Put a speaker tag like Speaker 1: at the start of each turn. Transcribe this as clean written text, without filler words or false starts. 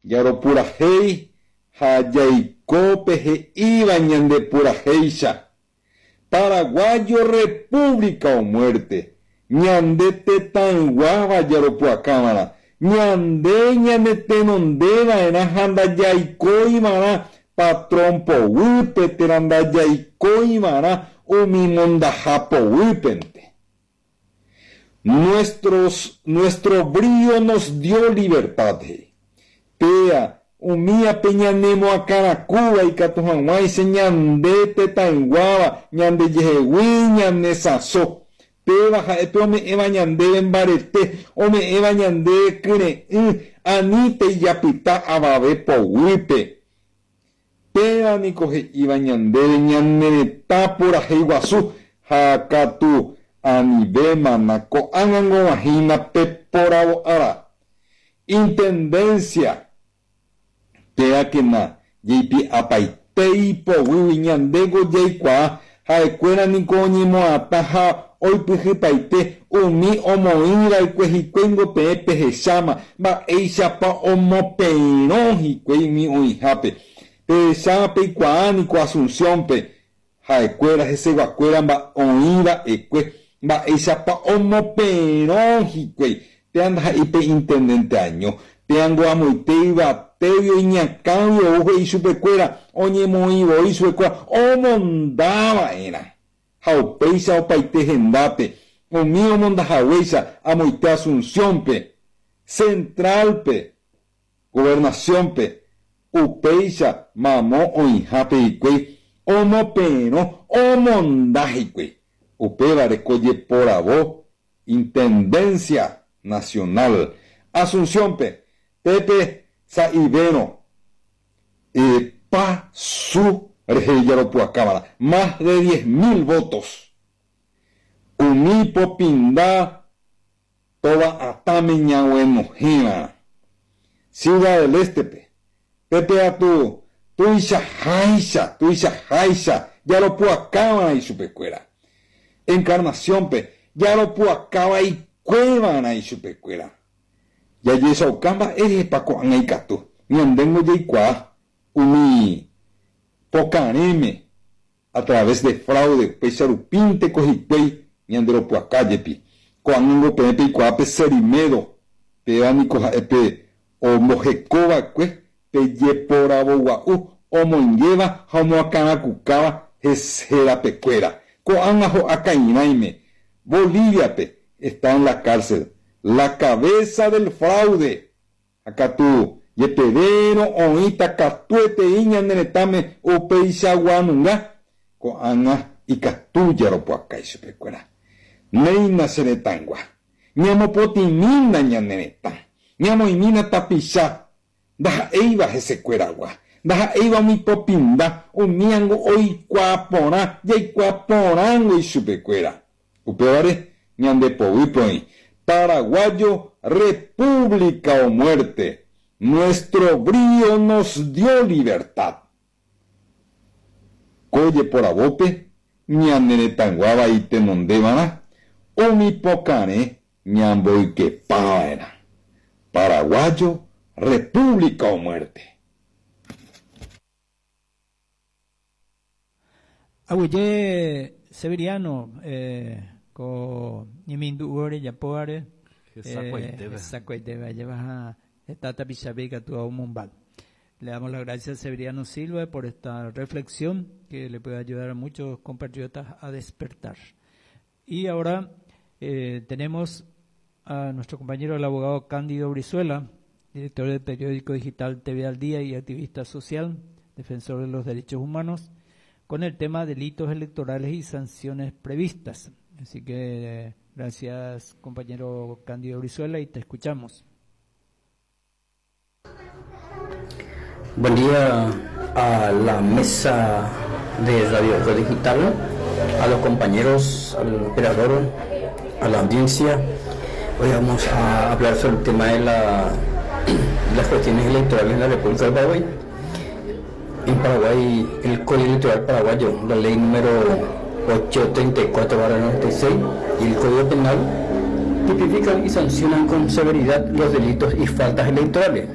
Speaker 1: Jaropurahéi ha jaiko pe he'íva ñande purahéicha. Paraguayo República o muerte. Ñande tetãyguáva jaropu'akãva'erã. Ñande ñanetenondeva'erã ha ndajaikóiva'erã patrón poguýpe térã ndajaikóiva'erã umi mondaha poguýpente. Nuestros, nuestro brío nos dio libertad, he'i. Péa, umíape ñanemoakãrakúva ikatu hag̃uáicha ñande tetãyguáva ñandejehegui ñanesãso. Péva ha'e pe ome'ẽva ñandéve mbarete, ome'ẽva ñandéve kyre'ỹ, anítei japyta avave poguýpe. Péva niko he'íva ñandéve ñane retã purahéi guasu, ha katu anivémana ko'ág̃a g̃uahẽina pe poravo ára. Intendencia, péakena jeipi'apaite ipoguýgui ñandéko jaikuaa ha'ekuéra niko oñemo'atã ha oipyhypaite umi omoĩva'ekue hikuái peẽ pehecháma mba'éichapa omoperõ hikuái umi oĩhápe. Pehecháma peikuaa niko Asunciónpe ha'ekuéra heseguakuéra oĩva'ekue mba'éichapa omoperõ hikuái. Péa ndaha'éi pe intendente año. Péango amoite yvatégui iñakãgui ou he'i chupekuéra oñemoĩvoi chupekuéra omondava'erã. Ha upéicha opaite hendápe umi omondahaguéicha amoite Asunciónpe, Centralpe, Gobernaciónpe, upéicha mamo oĩhápe hikuái omoperõ omonda hikuái. Upévare ko jeporavo Intendencia Nacional Asunciónpe, pépe sa'ivérõ pa su rehe jaropu'akáva'erã, más de 10.000 votos. Umi popinda tova'atãme ñaguenohẽva'erã. Ciudad del Este-pe, pépe atu tuichaháicha, tuichaháicha jaropu'akáva'erã ichupekuéra. Encarnaciónpe, jaropu'akavaikuéva'erã ichupekuéra. Jajechauka mba'érehepa ko'ág̃a ikatu. Ñandéngo jaikuaa umi pokarẽme a través de fraude upéicha rupínteko hikuái ñanderopu'aka jepi. Ko'ág̃ango peẽ peikuaa pe Cerimedo, péva niko ha'e pe ombohekova'ekue pe jeporavogua'u omoingéva ha omoakãrakukáva herapekuéra. Ko'ág̃a ho'a ka'irãime. Boliviape está en la cárcel. La cabeza del fraude. Ha katu jepevérõ oĩta katuetei ñane retãme upeichaguanunga, ko'ág̃a ikatu jaropu'aka ichupekuéra. Néina che retãygua. Ñamopotĩmína ñane retã. Ñamoĩmína tapicha ndaha'éiva hesekueragua. Ndaha'éiva umi popinda, umíango oikuaa porã, jaikuaa porãngo ichupekuéra. Upévare ñande poguýpe oĩ. Paraguayo, República o muerte. Nuestro brío nos dio libertad. Ko jeporavópe ñane retãyguáva itenondeva'erã umi pokarẽ ñamboykepava'erã. Paraguayo, República o muerte.
Speaker 2: Aguyje Severiano ko ñemindu'u rejapóvare hesakuaitépe ajépa ha heta tapichápe ikatu omombáy. Le damos las gracias a Severiano Silva por esta reflexión que le puede ayudar a muchos compatriotas a despertar. Y ahora tenemos a nuestro compañero el abogado Cándido Brizuela, director del periódico digital TV al Día y activista social, defensor de los derechos humanos, con el tema delitos electorales y sanciones previstas. Así que gracias, compañero Cándido Brizuela, y te escuchamos.
Speaker 3: Buen día a la mesa de Radio Eco Digital, a los compañeros, al operador, a la audiencia. Hoy vamos a hablar sobre el tema de las cuestiones electorales en la República del Paraguay. En Paraguay, el Código Electoral Paraguayo, la ley número 834/96 y el Código Penal tipifican y sancionan con severidad los delitos y faltas electorales.